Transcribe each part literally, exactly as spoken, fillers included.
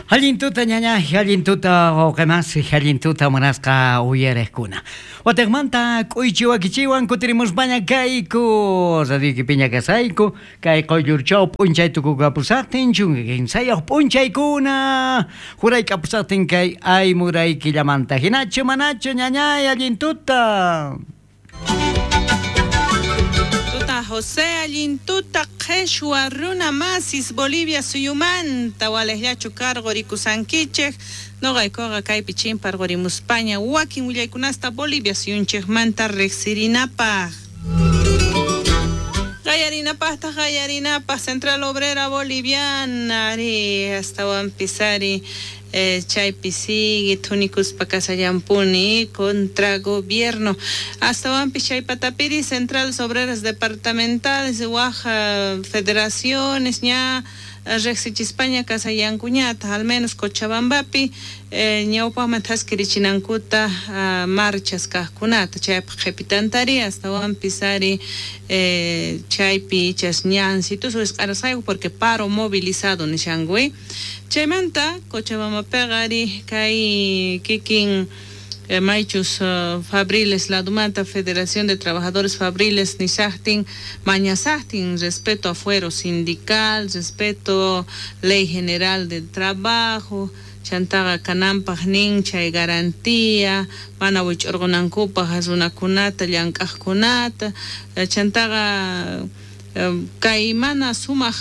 Allin tuta ñaña, allin tuta wawqimas, allin tuta munasqa uyariqkuna. Wataqmanta k'uychi wakichiwan kutirimuspaña kayku, radioykipiña kasayku, kay quyllurchaw p'unchay tukukapusaqtin, chunka kinsayuq p'unchaykuna, juraykapusaqtin kay aymurayquillamanta. Hinachu manachu ñañay, allin tuta. Tuta José, allin tuta qheshwa runa masis Bolivia suyumanta walejllachu karqurikusankichej noqaykuqa kaypi chimparqurimuspaña wakin willaykunasta Bolivia suyunchejmanta riqsirinapaq. Qallarinapaqtaq qallarinapaq Central Obrera Boliviana ari astawanpis ari eh, chaypi sigue thunikuspa kasallampuni contra gobierno astawanpis chay patapiri Centrales Obreras Departamentales waj federaciones ña riqsichispaña kasayankuñata al menos Cochabambapi eh, ñawpaqman thaskirichinankuta uh, marchas kaqkunata chaypaq qhipitantari astawanpis ari eh, chaypi ichas ñansitus wisq'arasqayku porque paro movilizado nishanku chaymanta Cochabambapiqa ari kay kikin eh, maychus uh, fabriles ladumanta Federación de Trabajadores Fabriles nisaqtin mañasaqtin respeto a fuero sindical, respeto Ley General del Trabajo, chantaqa kananpaq nin chay garantía mana wich'urqunankupaq runakunata llank'aqkunata chantaqa kay mana sumaq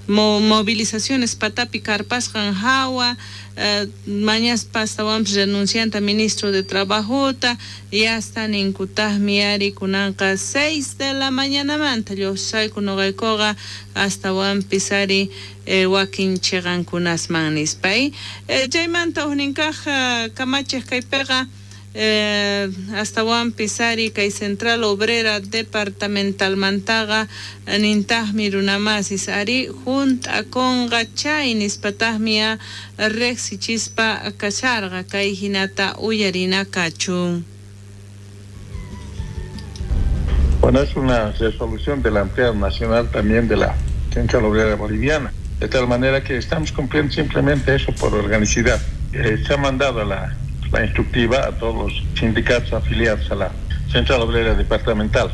mo movilizaciones patapi karpasqan hawa eh, mañaspa astawanpis renuncianta ministro de Trabajota y hasta ninkutaqmi ari kunanqa seis de la mañanamanta lluqsayku noqaykuqa astawanpis ari eh, wakin chiqankunasman nispa eh, chaymanta hukninkaq kamachiq kaypiqa Eh, astawanpis ari kay Central Obrera Departamentalmantaqa nintaqmi runamasis ari hunt'akunqa chay nispataqmi a riqsichispa kasharqa kay hinata uyarina kachun. Bueno, es una resolución de la Ampliada Nacional también de la Central Obrera Boliviana, de tal manera que estamos cumpliendo simplemente eso por organicidad. Eh, se ha mandado la la instructiva a todos los sindicatos afiliados a la Central Obrera Departamental.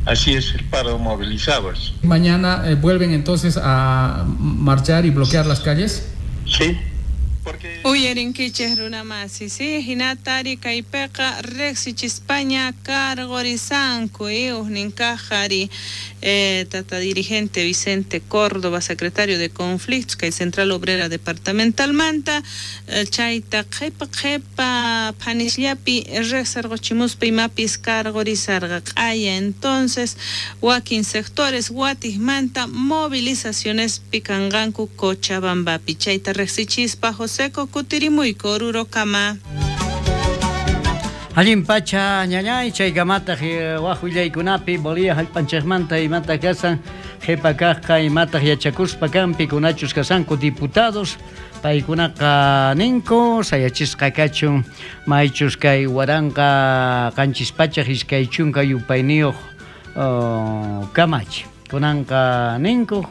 Así es el paro movilizado. ¿Mañana eh, vuelven entonces a marchar y bloquear las calles? Sí. Uyarinkichej runamasi, sí, hinatari kaypiqa riqsichispaña karqurisanku hukninkaq ari eh, tata dirigente Vicente Córdoba, secretario de Conflictos kay Central Obrera Departamentalmanta eh, chayta qhipa qhipa phanisllapi riqsirquchimuspa imapis karqurisarqa q'aya entonces wakin sectores watijmanta movilizaciones pikanqanku Cochabambapi chayta riqsichispa José kutirimuyku Orurokama. Allin pacha ñañay chaykamataq waj willaykunapi Bolivia hallp'anchikmanta imata kasan qhipa kaqqa imataq yachakuspa kan pikunachus kasanku diputados paykunaqa ninku sayachisqa kachun maychus kay waranqa qanchis pachaq iskay chunka yupayniyuq kamachi kunanqa ninku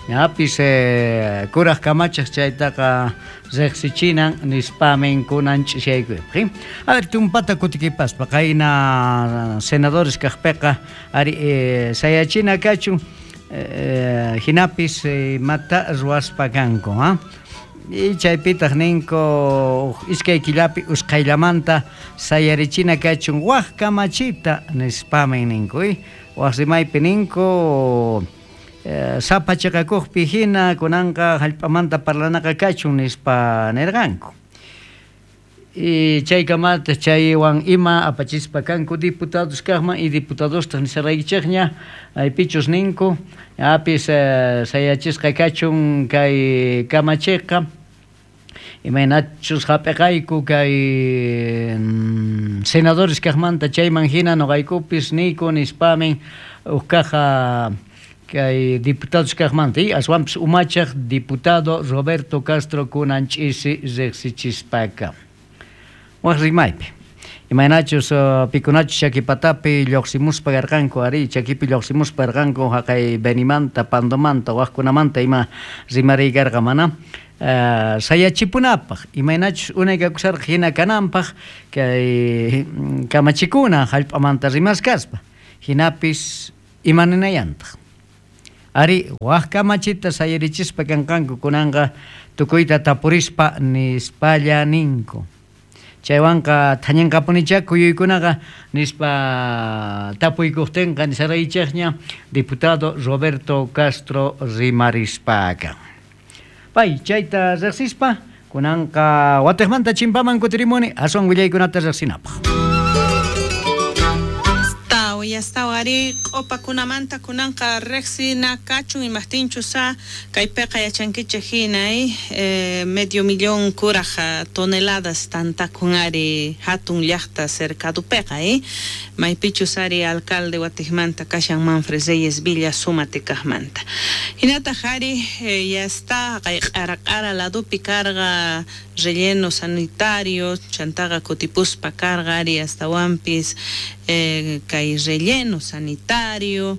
ñapis eh, kuraq kamachaq chaytaqa riqsichinan nispamin kunan ch'ishaykuypaq. A ver, tumpata kutikipaspa qayna senadores kaqpiqa ari eh, sayachina kachun eh, hinapis eh, mata ruwaspa kanku, ha? Y chaypitaq ninku iskay killapi usqhayllamanta sayarichina kachun waj kamachita nispamin ninku, waj rimaypi ninku Eh, sapa chiqakuqpi hina kunanqa hallp'amanta parlanaqa kachun nispa nirqanku. Y chaykamata chaywan ima apachispa kanku diputados kaqman y diputadostaq nisaraykichikña aypichus ninku apis eh, sayachisqa kachun kay kamachiqa imaynachus hap'iqayku kay mm, senadores kaqmanta chayman hina nuqaykupis niyku nispamin uqkaqa kay diputados kaqmanta y aswanpis umachaq diputado Roberto Castro kunan ch'isi riqsichispaka. Waj rimaypi imaynachus uh, pikunachus chakipatapi lluqsimuspa karqanku ari chakipi lluqsimuspa karqanku haqay Benimanta, Pandomanta, wajkunamanta ima rimariykarqa mana uh, sayachipunapaq imaynachus unay kakusarqa hina kananpaq kay kamachikuna hallp'amanta rimaskaspa hinapis imaninayantaq ari waq kamachita sayarichispa kanqanku kunanqa tukuyta tapurispa nispalla ninku chaywanqa thañanqapunichá kuyuykunaqa nispa tapuykuqtinqa nisaraychikña diputado Roberto Castro rimarispaqa pay chayta riqsispa kunanqa watiqmanta chimpaman kutirimuni aswan willaykunata riqsinapaq. Yastawari q'upakunamanta kunanqa riqsina kachun imaqtinchus kaypiqa yachankichik hina eh, medio millón kuraj toneladas tantakun ari hatun llaqta cercadupiqa eh? Maypichus ari alcalde watiqmanta kashan Manfred Reyes Villa sumatikaqmanta hinataq ari eh, yasta kay q'ara q'ara ladupi karqa relleno sanitario chantaqa kutipuspa karqa ari astawanpis eh, kay relleno sanitario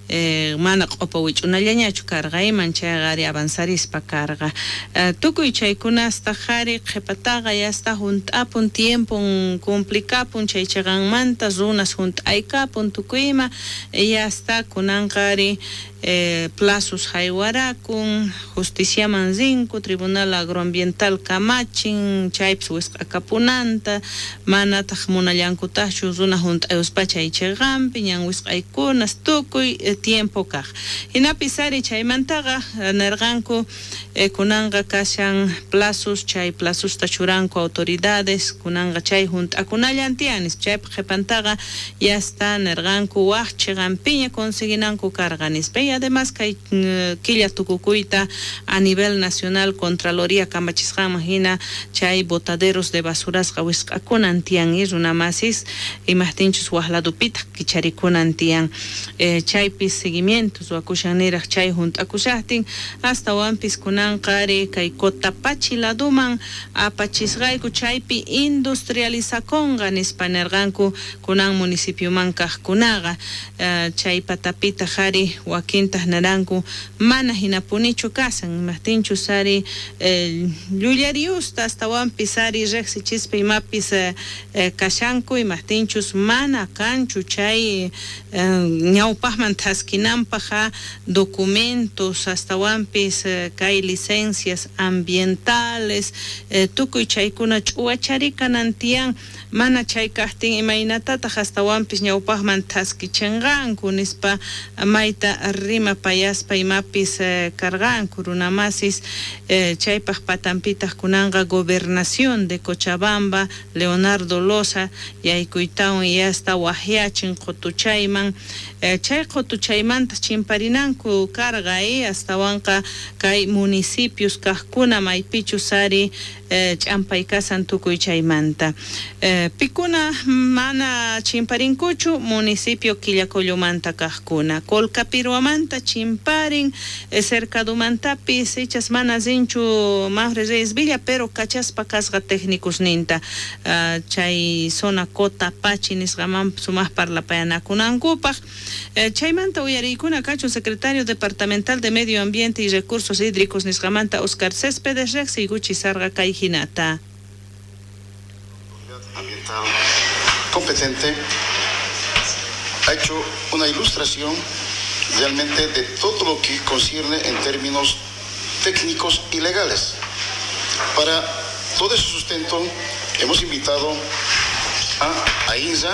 eh, mana q'upa wich'unallañachu karqa iman chayqa ari avanzarispa karqa eh, tukuy chaykunastaq ari qhipataqa yasta hunt'apun tiempon cumplikapun chay chiqanmanta runas hunt'aykapun tukuy ima yasta kunanqa ari Eh, plazos haywarakun justiciaman rinku tribunal agroambiental kamachin chaypis wisq'akapunanta manataq munallankutaqchu runa hunt'ayuspa chay chiqanpi ñan wisq'aykunas tukuy eh, tiempo kaq hinapis ari chaymantaqa nirqanku eh, kunanqa kashan plazos chay plazosta churanku autoridades kunanqa chay hunt'akunallan tiyan nispa chaypaq qhipantaqa yasta nirqanku waq chiqanpiña conseguinanku karqa nispa. Y además kay killa tukukuyta a nivel nacional Contraloría kamachisqanman hina chay botaderos de basurasqa wisq'akunan tiyan y runamasis imaqtinchus waq ladupitaq kicharikunan tiyan eh, chaypis seguimiento ruwakushan niraq chay hunt'akushaqtin astawanpis kunanqa ari kay Cotapachi laduman apachisqayku chaypi industrializakunqa nispa nirqanku kunan municipioman kaqkunaqa eh, chay patapitaq ari wakintaq naranku mana hinapunichu kasan imaqtinchus ari eh, llullariusta astawanpis ari riqsichispa imapis eh, eh, kashanku imaqtinchus mana kanchu chay eh, ñawpaqman thaskinanpaq documentos astawanpis eh, kay licencias ambientales eh, tukuy chaykuna ch'uwacharikanan tiyan mana chay kaqtin imaynatataq astawanpis ñawpaqman thaskichinqanku nispa mayta rimapayaspa imapis eh, karqanku runamasis eh, chaypaq patanpitaq kunanqa gobernación de Cochabamba Leonardo Loza yaykuytawan yasta waqyachin qutuchayman eh, chay qutuchaymanta chimparinanku karqa eh, astawanqa kay municipios kaqkuna maypichus ari eh, ch'ampay kasan tukuy chaymanta eh, pikuna mana chimparinkuchu municipio Quillacollomanta kaqkuna Colcapirhuamanta chimparin eh, cercadumantapis ichas mana rinchu Manfred Reyes Villa pero kachaspa kasqa técnicos ninta uh, chay zona Cotapachi nisqaman sumaq parlapayanakunankupaq eh, chaymanta uyariykuna kachun secretario departamental de Medio Ambiente y Recursos Hídricos nisqamanta Oscar Céspedes riqsiykuchi sarqa kay hinata. Ambiental competente ha hecho una ilustración realmente de todo lo que concierne en términos técnicos y legales. Para todo ese sustento hemos invitado a AINSA,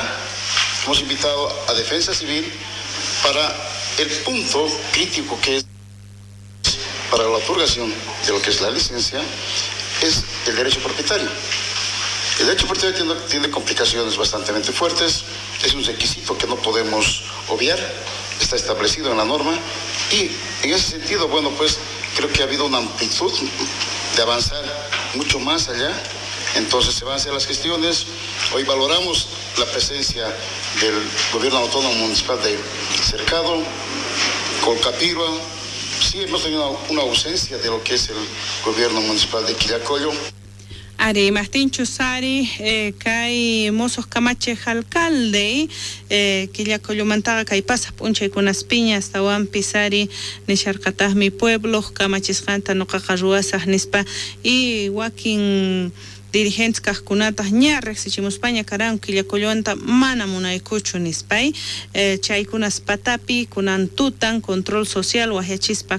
hemos invitado a Defensa Civil para el punto crítico que es para la otorgación de lo que es la licencia, es el derecho propietario. El derecho propietario tiene, tiene complicaciones bastante fuertes, es un requisito que no podemos obviar, está establecido en la norma y en ese sentido, bueno, pues creo que ha habido una amplitud de avanzar mucho más allá. Entonces se van a hacer las gestiones. Hoy valoramos la presencia del gobierno autónomo municipal de Cercado, Colcapirhua. Sí, hemos tenido una, una ausencia de lo que es el gobierno municipal de Quillacollo. Ari, imajtinchus ari eh, kay mosoq kamachiq alcalde eh, Quillacollomantaqa kay pasaq p'unchaykunaspiña astawanpis ari nisharqataqmi puebloq kamachisqanta nuqaqa ruwasaq nispa y wakin dirigentes kaqkunataq ña riqsichimuspaña karanku Quillacollonta mana munaykuchu nispay eh, chaykunas patapi kunan tutan control social waqyachispa